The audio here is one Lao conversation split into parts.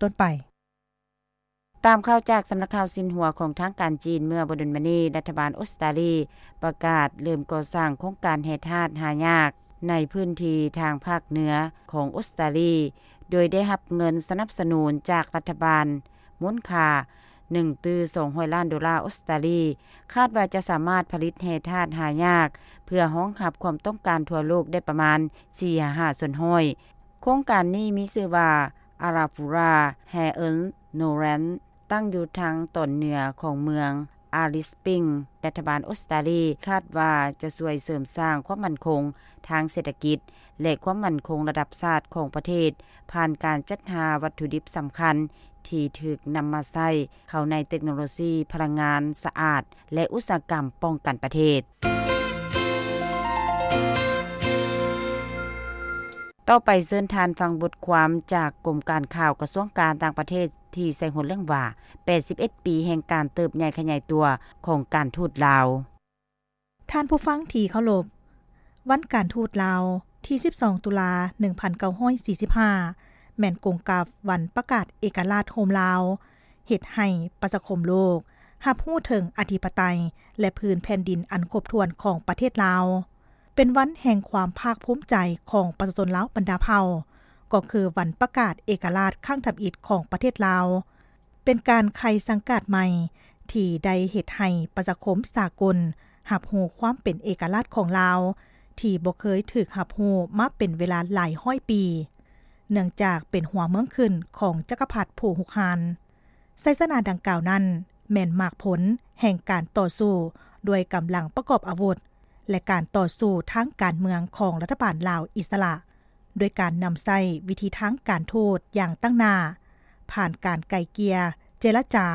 ຕົ້ນໄປ. ຕາມຂ່າວຈາກສຳນັກຂ່າວຊິນຫົວຂອງທາງການຈີນ, ເມື່ອບໍ່ດົນມານີ້ ລັດຖະບານອົດສະຕາລີປະກາດເລີ່ມກໍ່ສ້າງໂຄງການແຮ່ທາດຫາຍາກໃນພື້ນທີ່ທາງພາກເໜືອຂອງອົດສະຕາລີ, ໂດຍໄດ້ຮັບເງິນສະໜັບສະໜູນຈາກລັດຖະບານມູນຄ່າໜຶ່ງຕື້ສອງຮ້ອຍລ້ານໂດລາອົດສະຕາລີ, ຄາດວ່າຈະສາມາດຜະລິດແຮ່ທາດຫາຍາກ ເພື່ອຮອງຮັບຄວາມຕ້ອງການທົ່ວໂລກໄດ້ປະມານສີ່ຫາຫ້າສ່ວນຮ້ອຍ. ໂຄງການນີ້ມີຊື່ວ່າ Arafura Rare Earth Knowledge ຕັ້ງຢູ່ທາງຕອນເໜືອຂອງເມືອງ Alice Springs. ລັດຖະບານອົດສະຕາລີຄາດວ່າຈະຊ່ວຍເສີມສ້າງຄວາມໝັ້ນຄົງທາງເສດຖະກິດ ແລະ ຄວາມໝັ້ນຄົງລະດັບຊາດຂອງປະເທດ ຜ່ານການຈັດຫາວັດຖຸດິບສຳຄັນທີ່ຖືກນຳມາໃຊ້ເຂົ້າໃນເຕັກໂນໂລຊີພະລັງງານສະອາດ ແລະ ອຸດສາຫະກຳປ້ອງກັນປະເທດ. ຕໍ່ໄປເຊີນທ່ານຟັງບົດຄວາມຈາກກົມການຂ່າວກະຊວງການຕ່າງປະເທດ ທີ່ໃສ່ຫົວເລື່ອງວ່າ ແປດສິບເອັດປີແຫ່ງການເຕີບໃຫຍ່ຂະຫຍາຍຕົວຂອງການທູດລາວ. ທ່ານຜູ້ຟັງທີ່ເຄົາລົບ, ວັນການທູດລາວ ທີສິບສອງ ຕຸລາ ໜຶ່ງພັນເກົ້າຮ້ອຍສີ່ສິບຫ້າ ແມ່ນກົງກັບວັນປະກາດເອກະລາດໂຮມລາວ, ເຮັດໃຫ້ປະຊາຄົມໂລກຮັບຮູ້ເຖິງອະທິປະໄຕ ແລະ ພື້ນແຜ່ນດິນອັນຄົບຖ້ວນຂອງປະເທດລາວ. ເປັນວັນແຫ່ງຄວາມພາກພູມໃຈຂອງປະຊາຊົນລາວບັນດາເຜົ່າ, ກໍຄືວັນປະກາດເອກະລາດຄັ້ງທຳອິດຂອງປະເທດລາວ. ເປັນການໄຂສັງກາດໃໝ່ທີ່ໄດ້ເຮັດໃຫ້ປະຊາຄົມສາກົນຮັບຮູ້ຄວາມເປັນເອກະລາດຂອງລາວ ທີ່ບໍ່ເຄີຍຖືກຮັບຮູ້ມາເປັນເວລາຫຼາຍຮ້ອຍປີ, ເນື່ອງຈາກເປັນຫົວເມືອງຂຶ້ນຂອງຈັກກະພັດຜູ້ຮຸກຮານ. ໄຊຊະນະດັ່ງກ່າວນັ້ນແມ່ນໝາກຜົນແຫ່ງການຕໍ່ສູ້ດ້ວຍກຳລັງປະກອບອາວຸດ ແລະ ການຕໍ່ສູ້ທາງການເມືອງຂອງລັດຖະບານລາວອິດສະຫຼະ, ດ້ວຍການນຳໃຊ້ວິທີທາງການທູດຢ່າງຕັ້ງໜ້າ, ຜ່ານການໄກ່ເກ່ຍ, ເຈລະຈາ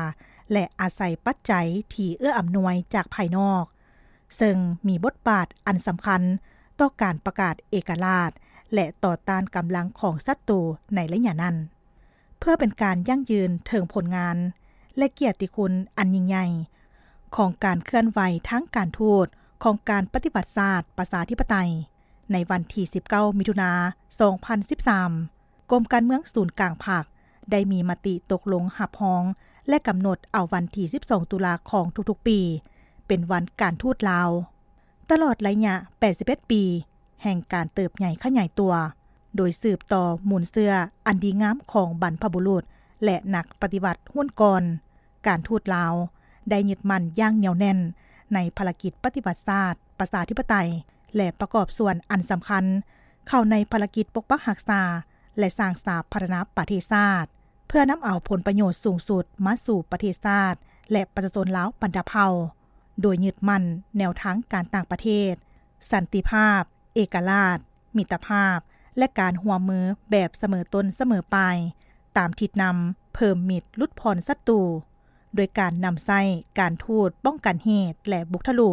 ແລະ ອາໄສປັດໄຈທີ່ເອື້ອອຳນວຍຈາກພາຍນອກ, ເຊິ່ງມີບົດບາດອັນສຳຄັນຕໍ່ການປະກາດເອກະລາດ ແລະ ຕໍ່ຕ້ານກຳລັງຂອງສັດຕູໃນໄລຍະນັ້ນ. ເພື່ອເປັນການຢັ້ງຢືນເຖິງຜົນງານ ແລະ ກຽດຕິຄຸນອັນຍິ່ງໃຫຍ່ຂອງການເຄື່ອນໄຫວທາງການທູດຂອງການປະຕິວັດຊາດປະຊາທິປະໄຕ, ໃນວັນທີສິບເກົ້າ ມິຖຸນາ ສອງພັນສິບສາມ ກົມການເມືອງສູນກາງພັກໄດ້ມີມະຕິຕົກລົງຮັບຮອງ ແລະ ກຳນົດເອົາວັນທີສິບສອງ ຕຸລາຂອງທຸກໆປີ ເປັນວັນການທູດລາວ. ຕະຫຼອດໄລຍະແປດສິບເອັດປີແຫ່ງການເຕີບໃຫຍ່ຂະຫຍາຍຕົວ, ໂດຍສືບຕໍ່ມູນເຊື້ອອັນດີງາມຂອງບັນພະບຸລຸດ ແລະ ນັກປະຕິວັດຮຸ່ນກ່ອນ, ການທູດລາວໄດ້ຍຶດໝັ້ນຢ່າງໜຽວແໜ້ນໃນພາລະກິດປະຕິວັດຊາດປະຊາທິປະໄຕ ແລະ ປະກອບສ່ວນອັນສຳຄັນເຂົ້າໃນພາລະກິດປົກປັກຮັກສາ ແລະ ສ້າງສາພັດທະນາປະເທດຊາດ, ເພື່ອນຳເອົາຜົນປະໂຫຍດສູງສຸດມາສູ່ປະເທດຊາດ ແລະ ປະຊາຊົນລາວບັນດາເຜົ່າ, ໂດຍຍຶດໝັ້ນແນວທາງການຕ່າງປະເທດ, ສັນຕິພາບ, ເອກະລາດ, ມິດຕະພາບ ແລະ ການຮ່ວມມືແບບສະເໝີຕົ້ນສະເໝີປາຍ, ຕາມທິດນຳເພີ່ມມິດຫຼຸດຜ່ອນສັດຕູ, ໂດຍການນຳໃຊ້ການທູດປ້ອງກັນເຫດ ແລະ ບຸກທະລຸ,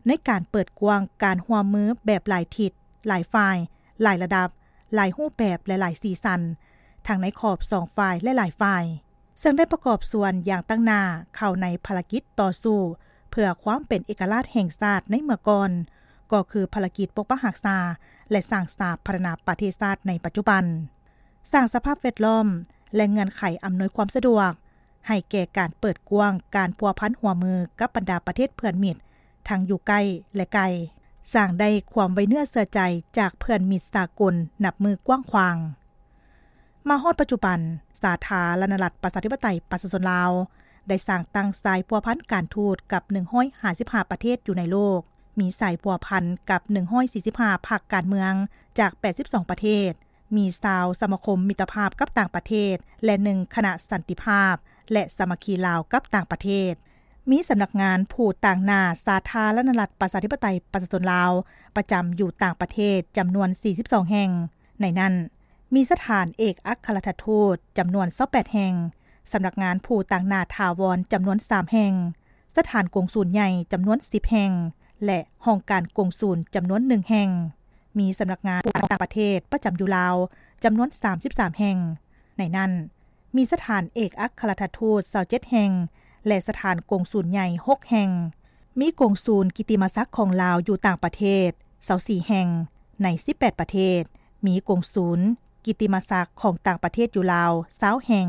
ໃນການເປີດກວ້າງການຮ່ວມມືແບບຫຼາຍທິດ, ຫຼາຍຝ່າຍ, ຫຼາຍລະດັບ, ຫຼາຍຮູບແບບ ແລະ ຫຼາຍສີສັນ, ທັງໃນຂອບສອງຝ່າຍ ແລະ ຫຼາຍຝ່າຍ. ເຊິ່ງໄດ້ປະກອບສ່ວນຢ່າງຕັ້ງໜ້າເຂົ້າໃນພາລະກິດຕໍ່ສູ້ເພື່ອຄວາມເປັນເອກະລາດແຫ່ງຊາດໃນເມື່ອກ່ອນ, ກໍຄືພາລະກິດປົກປັກຮັກສາ ແລະ ສ້າງສາພັດທະນາປະເທດຊາດໃນປັດຈຸບັນ, ສ້າງສະພາບແວດລ້ອມ ແລະ ເງື່ອນໄຂອຳນວຍຄວາມສະດວກໃຫ້ແກ່ການເປີດກວ້າງການພົວພັນຮ່ວມມືກັບບັນດາປະເທດເພື່ອນມິດ ທັງຢູ່ໃກ້ ແລະ ໄກ, ສ້າງໄດ້ຄວາມໄວ້ເນື້ອເຊື່ອໃຈຈາກເພື່ອນມິດສາກົນນັບມື້ກວ້າງຂວາງ. ມາຮອດປັດຈຸບັນ, ສາທາລະນະລັດປະຊາທິປະໄຕປະຊາຊົນລາວ ໄດ້ສ້າງຕັ້ງສາຍພົວພັນການທູດກັບໜຶ່ງຮ້ອຍຫ້າສິບຫ້າປະເທດຢູ່ໃນໂລກ, ມີສາຍພົວພັນກັບໜຶ່ງຮ້ອຍສີ່ສິບຫ້າພັກການເມືອງຈາກແປດສິບສອງປະເທດ, ມີຊາວສະມາຄົມມິດຕະພາບກັບຕ່າງປະເທດ ແລະ ໜຶ່ງຄະນະສັນຕິພາບ ແລະ ສາມັກຄີລາວກັບຕ່າງປະເທດ, ມີສຳນັກງານຜູ້ຕາງໜ້າສາທາລະນະລັດປະຊາທິປະໄຕປະຊາຊົນລາວ ປະຈຳຢູ່ຕ່າງປະເທດຈຳນວນສີ່ສິບສອງແຫ່ງ, ໃນນັ້ນ ມີສະຖານເອກອັກຄະລັດຖະທູດຈຳນວນຊາວແປດແຫ່ງ, ສຳນັກງານຜູ້ຕາງໜ້າຖາວອນຈຳນວນສາມແຫ່ງ, ສະຖານກົງສູນໃຫຍ່ຈຳນວນສິບແຫ່ງ ແລະ ຫ້ອງການກົງສູນຈຳນວນໜຶ່ງແຫ່ງ, ມີສຳນັກງານຜູ້ຕ່າງປະເທດປະຈຳຢູ່ລາວຈຳນວນສາມສິບສາມແຫ່ງ, ໃນນັ້ນ ມີສະຖານເອກອັກຄະລັດຖະທູດຊາວເຈັດແຫ່ງ ແລະ ສະຖານກົງສູນໃຫຍ່ຫົກແຫ່ງ, ມີກົງສູນກິດຕິມະສັກຂອງລາວຢູ່ຕ່າງປະເທດຊາວສີ່ແຫ່ງໃນສິບແປດປະເທດ, ມີກົງສູນ ກິດຕິມະສັກຂອງຕ່າງປະເທດຢູ່ລາວຊາວແຫ່ງ